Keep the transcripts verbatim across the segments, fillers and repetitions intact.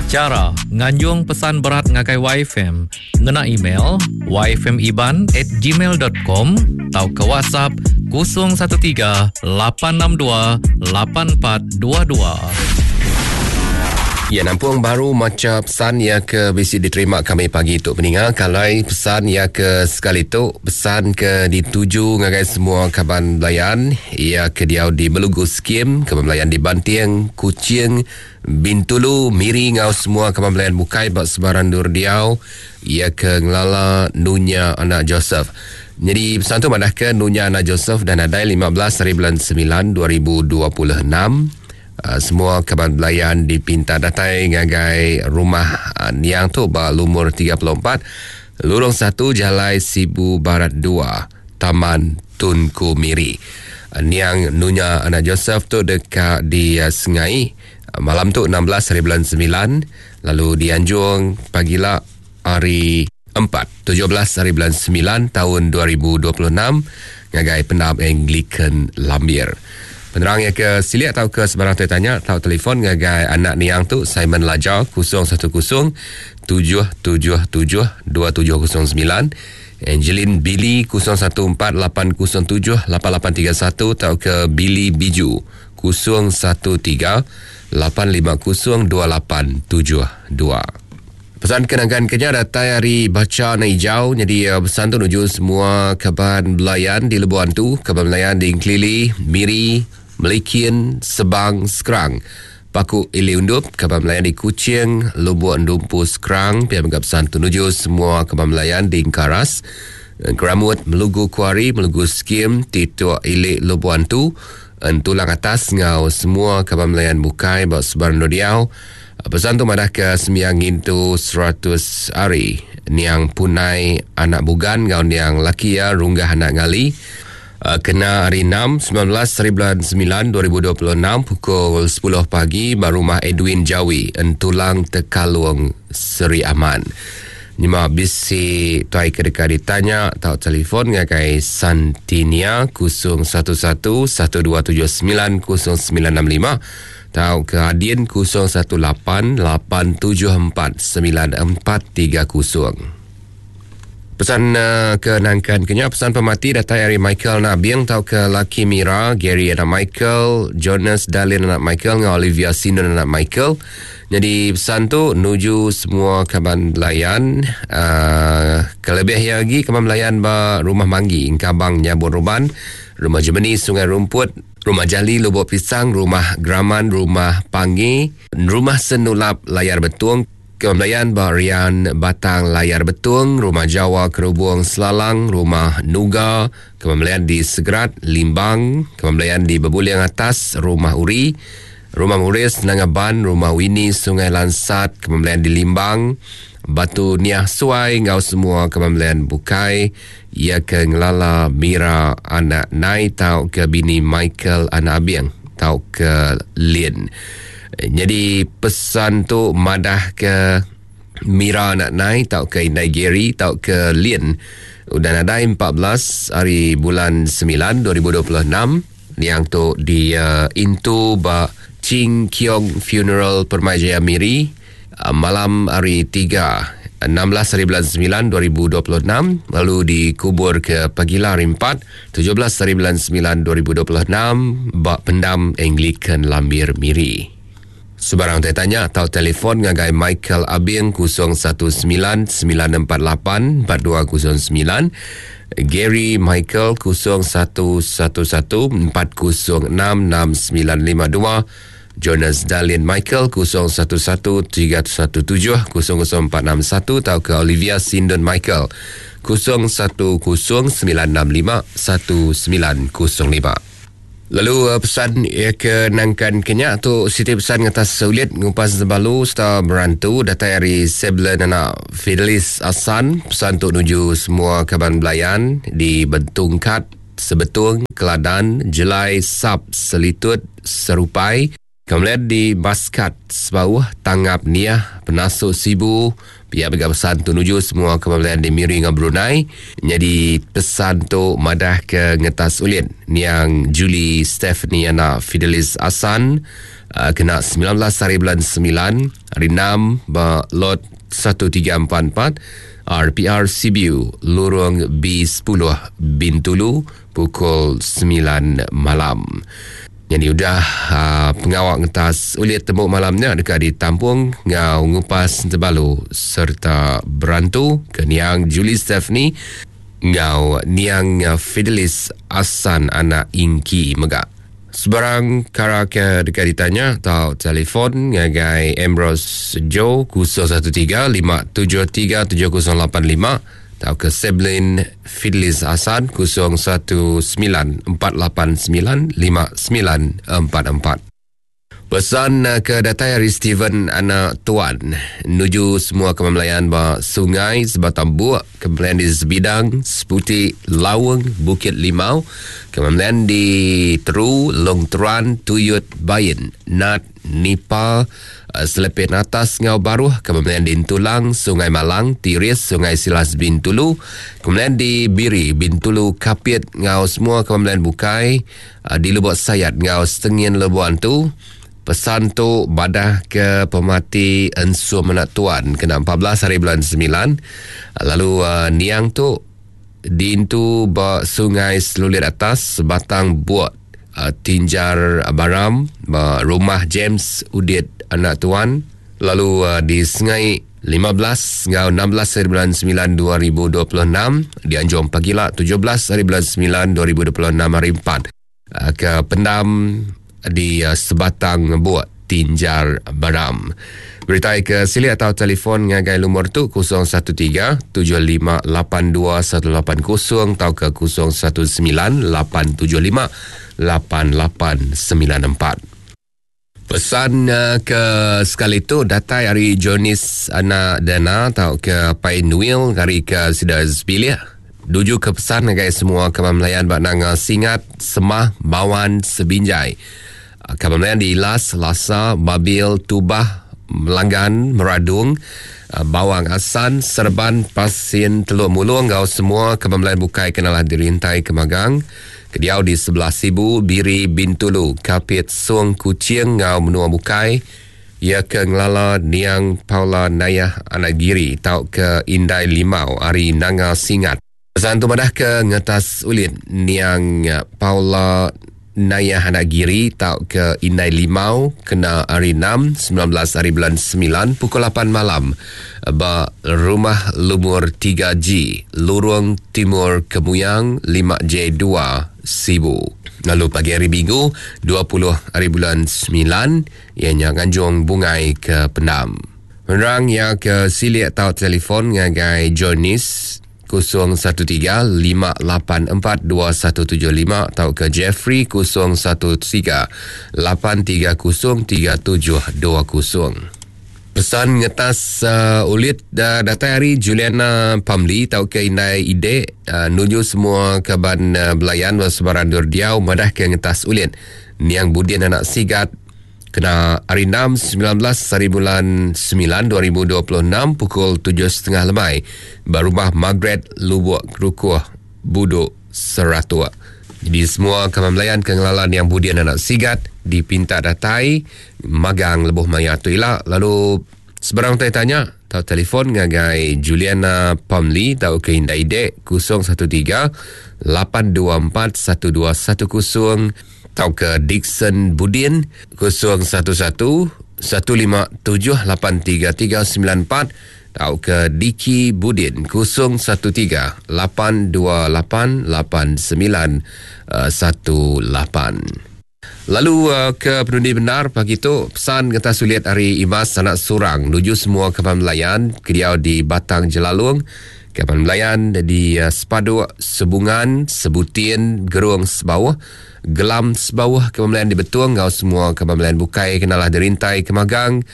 Cara nganjung pesan berat ngagai Y F M ngena email y f m iban at gmail dot com atau ke WhatsApp kosong satu tiga lapan enam dua lapan empat dua dua. Ya, nampung baru maca pesan ya ke bisi diterima kami pagi tu peninga. Kalau pesan ya ke sekali tu pesan ke dituju ngagai semua kaban belayan ya ke diau di Melugu Skim, kaban belayan di Banting, Kuching, Bintulu, Miri ngau semua kaban belayan bukai bak sebaran dur diau ya ke ngelala Nunya anak Joseph. Jadi pesan tu madah ke Nunya anak Joseph dan adai lima belas hari bulan sembilan dua ribu dua puluh enam. Uh, semua kaban belayan dipinta datai ngagai rumah uh, niang tu ba lumur tiga puluh empat Lurung satu Jalai Sibu Barat dua Taman Tunku Miri. Uh, niang Nunya anak Joseph tu dekat di uh, Sengai uh, malam tu enam belas hari bulan sembilan, lalu dianjung pagila hari empat tujuh belas hari bulan sembilan tahun dua ribu dua puluh enam ngagai Pendam Anglican Lambir. Penerang yang ke siliak atau ke sebarang tanya atau telefon ngagai anak niang tu Simon Laja kosong satu kosong tujuh tujuh tujuh dua tujuh kosong sembilan, Angeline Billy kosong satu empat lapan kosong tujuh lapan lapan tiga satu atau ke Billy Biju kosong satu tiga lapan lima kosong dua lapan tujuh dua. Pesan kenangan kenya datai hari baca na hijau. Jadi uh, pesan tu nuju semua kaban belayan di Lebuan tu, kaban belayan di Ingklili, Miri, Melikin, Sebang, Skrang, Paku Ili Undup, kaban belayan di Kuching, Lubuk Endumpu, Skrang. Pihak menganggap pesan tu nuju semua kaban belayan di Ingkaras, Keramut, Melugu Kuari, Melugu Skim, Tituk Ili Lubuan tu, Entulang Atas ngau semua kaban belayan bukai bak sebarang diau. Pesan tu madah ke sembiang ngintu seratus hari niang Punai anak Bugan ngau niang laki ya Runggah anak Ngali. Kena hari enam sembilan belas hari bulan sembilan dua ribu dua puluh enam pukul sepuluh pagi ba rumah Edwin Jawi Entulang Tekalung Seri Aman. Nyema bisi tuai ke dekat ditanya atau telefon ngagai Santinia kosong satu satu satu dua tujuh sembilan kosong sembilan enam lima atau ke Adin kosong satu lapan lapan tujuh empat sembilan empat tiga kosong. Pesan uh, ke nangkan kenya pesan pemati datai hari Michael Nabiang atau ke Laki Mira, Gary anak Michael, Jonas Dalin anak Michael dengan Olivia Sinon anak Michael. Jadi pesan tu nuju semua kaban belayan, uh, kelebih lagi kaban belayan ba Rumah Manggi, Ingkabang Nyabun Ruban, Rumah Jemeni Sungai Rumput, Rumah Jali Lubuk Pisang, Rumah Graman, Rumah Pangi, Rumah Senulap Layar Betung, Kebelayan Barian Batang Layar Betung, Rumah Jawa Kerubung Selalang, Rumah Nuga, Kebelayan di Segerat, Limbang, Kebelayan di Bebuliang Atas, Rumah Uri, Rumah Muris, Nangaban, Rumah Wini, Sungai Lansat, Kebelayan di Limbang, Batu Niah Suai, ngau semua kebelayan bukai, ia ke Ngelala Mira anak Nai, tau ke bini Michael anak Abiang, tau ke Lin. Jadi pesan tu madah ke Mira anak Nai, tau ke Indai Gary, tau ke Lin. Udah nadai empat belas hari bulan sembilan dua ribu dua puluh enam yang tu di uh, Intu ba Ching Kiong Funeral Permai Jaya Miri, uh, malam hari tiga enam belas hari bulan sembilan dua ribu dua puluh enam, lalu dikubur ke pagila hari empat tujuh belas hari bulan sembilan dua ribu dua puluh enam ba Pendam Anglican Lambir Miri. Sebarang tanya atau telefon ngagai Michael Abing kosong satu sembilan sembilan empat lapan empat dua kosong sembilan, Gary Michael kosong satu satu satu empat kosong enam enam sembilan lima dua, Jonas Dalian Michael kosong satu satu tiga satu tujuh kosong kosong empat enam satu atau ke Olivia Sindon Michael kosong satu kosong sembilan enam lima satu sembilan kosong lima. Lalu pesan ya ke nangkan kenyak tu siti pesan atas sulit ngupas balu serta berantu datai hari Seblen anak Fidelis Asan. Pesan tu nuju semua kaban belayan di Bentungkat, Sebetung, Keladan, Jelai, Sap, Selitut, Serupai. Kemudian di Baskat, Sebauh, Tangap Niah, Penasuk Sibu. Pihak bagi pesan tu nuju semua kebelayan di Miri dengan Brunei. Jadi pesan tu madah ke ngetas ulin niang Julie Stephanie anak Fidelis Asan, uh, kena sembilan belas hari bulan sembilan hari enam ba lot satu tiga empat empat R P R C B U Lorong B sepuluh Bintulu pukul sembilan malam. Jadi udah uh, pengawak ngetas ulit tembuk malamnya dekat ditampung ngau ngupas tebalu serta berantu ke niang Julie Stephanie ngau niang Fidelis Asan anak Ingki megak. Sebarang kara ke dekat ditanya atau telefon ngagai Ambrose Joe kosong satu tiga lima tujuh tiga tujuh kosong lapan lima atau ke Seblin Fidelis Hasan kosong satu sembilan empat lapan sembilan lima sembilan empat empat. Pesan ke datai hari Steven anak Tuan nuju semua kemelayan ba Sungai Sebatang Buak, kemelayan di Sebidang, Seputi, Lawang, Bukit Limau, kemelayan di Teru, Long Teran, Tuyut, Bayin, Nat, Nipa, Selepet Atas Ngau Baruh, kemelayan di Tulang, Sungai Malang, Tiris, Sungai Silas Bintulu, kemelayan di Biri, Bintulu, Kapit, ngau semua kemelayan Bukai, di Lubuk Sayat, ngau Setengin Lebuan tu. Pesan tu badah ke pemati Ensu Menak Tuan kena empat belas hari bulan sembilan. Lalu uh, niang tu diintu ba Sungai Selulit Atas, Batang Buak, uh, Tinjar Baram, ba rumah James Udit anak Tuan. Lalu uh, di Sungai lima belas ngau enam belas hari bulan sembilan dua ribu dua puluh enam, di Anjung Pagila tujuh belas hari bulan sembilan dua ribu dua puluh enam hari empat, uh, ke Pendam di uh, Sebatang Buak, Tinjar Baram. Berita ke sili atau telefon ngagai lumur tu kosong satu tiga tujuh lima lapan dua satu lapan kosong atau ke kosong satu sembilan lapan tujuh lima lapan lapan sembilan empat. Pesan uh, ke sekali tu datai hari Jonis anak Dana atau ke Pai Nuil hari ke Sida Sebilik. Duju ke pesan ngagai semua kemamlayan bak nanga Singat, Semah, Bawan, Sebinjai. Kemamlayan di Ilas, Lasa, Babil, Tubah, Melanggan, Meradung, Bawang Asan, Serban, Pasin, Teluk Mulung, ngau semua kemamlayan bukai kenalah dirintai kemagang. Kediau di sebelah Sibu, Biri, Bintulu, Kapit, Sung, Kucing, ngau menua bukai. Ia ke ngelala Niang Paula Nayah Anak Giri, tau ke Indai Limau, Ari Nanga Singat. Pesan tu madah ke ngetas ulit Niang Paula Nayah Anak Giri tau ke Indai Limau kena hari enam sembilan belas hari bulan sembilan pukul lapan malam ba rumah lumur tiga G Lorong Timur Kemuyang lima J dua Sibu. Lalu pagi hari Minggu dua puluh hari bulan sembilan ianya nganjung bungai ke Pendam. Menerang yang ke silik atau telefon ngagai Jonis kosong satu tiga lima lapan empat dua satu tujuh lima atau ke Jeffrey kosong satu tiga lapan tiga kosong tiga tujuh dua kosong. Pesan ngetas uh, ulit uh, datai hari Juliana Pamli atau ke Indai Ide uh, nuju semua kaban uh, belayan sebarang durdiau madah ke ngetas ulit Niang Budin anak Sigat kena hari enam sembilan belas hari bulan sembilan dua ribu dua puluh enam pukul tujuh setengah lemai berumah Margaret Lubuk Kerukuh Buduk Seratua. Jadi semua kawan melayan kengelalan yang Budian anak Sigat dipinta datai magang lebuh maya tu ila. Lalu sebarang tanya atau telefon ngagai Juliana Pamli atau ke Indai Ide kosong satu tiga lapan dua empat satu dua satu kosong atau ke Dixon Budin kosong satu satu satu lima tujuh lapan tiga tiga sembilan empat atau ke Diki Budin kosong satu tiga lapan dua lapan lapan sembilan satu lapan. Lalu ke penundi benar pagi tu pesan kata sulit hari Imas anak Surang nuju semua kapal melayan kediau di Batang Jelalung, kapal melayan di Sepaduk, Sebungan, Sebutin, Gerung Sebawah, Gelam Sebawah, kapal melayan di Betung, ngau semua kapal melayan bukai kenalah dirintai kemagang.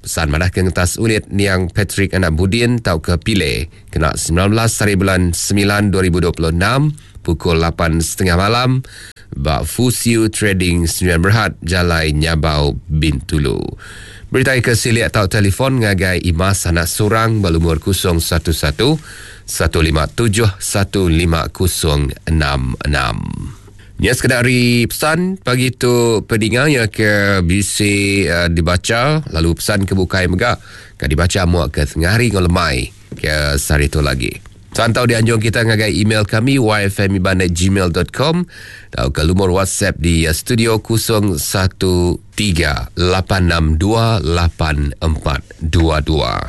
Pesan madah ke ngetas ulit Niang Patrick anak Budin tau ke Pile kena sembilan belas hari bulan sembilan dua ribu dua puluh enam pukul lapan setengah malam ba Fusiu Trading Sembilan Berhad Jalai Nyabau Bintulu. Berita ke silik atau telefon ngagai Imas anak Surang berlumur kosong satu satu satu lima tujuh satu lima kosong enam enam. Nya sekeda ari pesan pagi tu peninga ya ke bisi uh, dibaca, lalu pesan ke bukai mega ke dibaca muak ke tengah hari ngau lemai ke sehari tu lagi. Santau dianjung kita ngagai email kami y f m iban at gmail dot com atau ke lumur WhatsApp di studio kosong satu tiga lapan enam dua lapan empat dua dua.